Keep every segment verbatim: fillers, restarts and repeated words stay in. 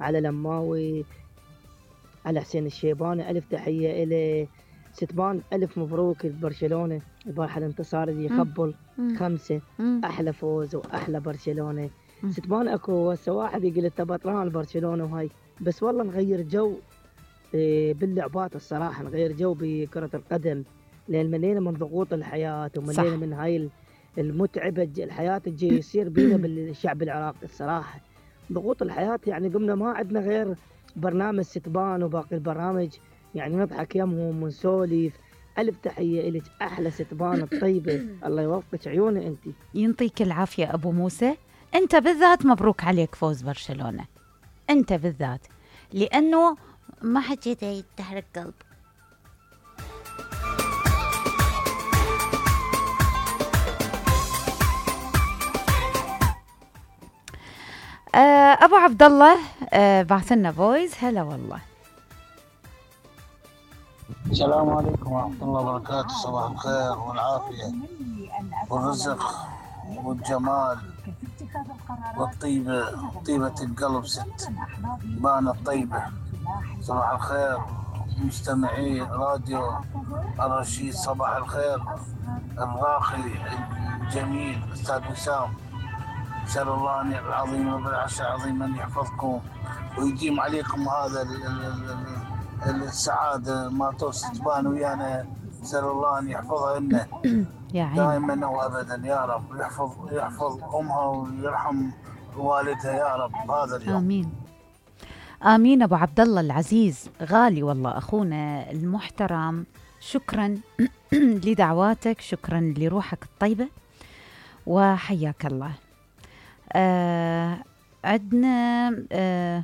على لماوي، على حسين الشيباني ألف تحية إلي. ستبان ألف مبروك لبرشلونة، البارحة الانتصار اللي يخبل خمسة. مم. أحلى فوز وأحلى برشلونة. مم. ستبان أكو هسه واحد يقول أنت بطلان برشلونة وهاي، بس والله نغير جو إيه باللعبات الصراحة، نغير جو بكرة القدم، لأن ملينا من ضغوط الحياة وملينا صح. من هاي المتعبة الج- الحياة الجي يصير بينا بالشعب العراقي الصراحة. ضغوط الحياة يعني قمنا ما عندنا غير برنامج ستبان وباقي البرامج، يعني نضحك يمهم ونسولف. ألف تحية إلك أحلى ستبان الطيبة، الله يوفقك عيوني أنت. ينطيك العافية أبو موسى. أنت بالذات مبروك عليك فوز برشلونة، أنت بالذات، لأنه ما حكيت هي تحرك قلب. أبو عبد الله بعث لنا فويس. هلا والله. السلام عليكم ورحمة الله وبركاته. صباح الخير والعافية والرزق والجمال والطيبة، طيبة القلب ست بانا الطيبة. صباح الخير مستمعي راديو الرشيد، صباح الخير الراقي الجميل أستاذ وسام. أسأل الله أن العظيم وبالعرش العظيم أن يحفظكم ويديم عليكم هذا ال ال السعادة ما تبان ويانا. أسأل الله أن يحفظها لنا دائما وأبدا يا رب، يحفظ يحفظ أمها ويرحم والدها يا رب هذا اليوم. آمين آمين. أبو عبد الله العزيز غالي والله، أخونا المحترم، شكرا لدعواتك، شكرا لروحك الطيبة وحياك الله. آه عدنا آه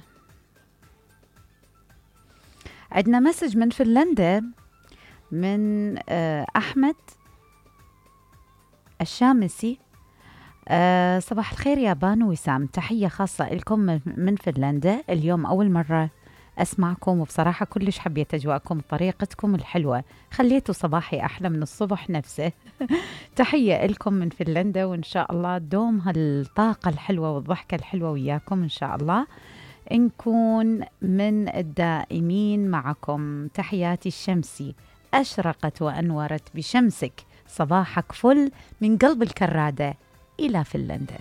عدنا مسج من فنلندا من آه أحمد الشامسي. آه صباح الخير يا بانو وسام، تحية خاصة لكم من فنلندا. اليوم أول مرة أسمعكم وبصراحة كلش حبيت أجواءكم وطريقتكم الحلوة، خليتوا صباحي أحلى من الصبح نفسه. تحية لكم من فنلندا، وإن شاء الله دوم هالطاقة الحلوة والضحكة الحلوة وياكم إن شاء الله، نكون من الدائمين معكم. تحياتي الشمسي أشرقت وأنورت بشمسك، صباحك فل من قلب الكرادة إلى فنلندا.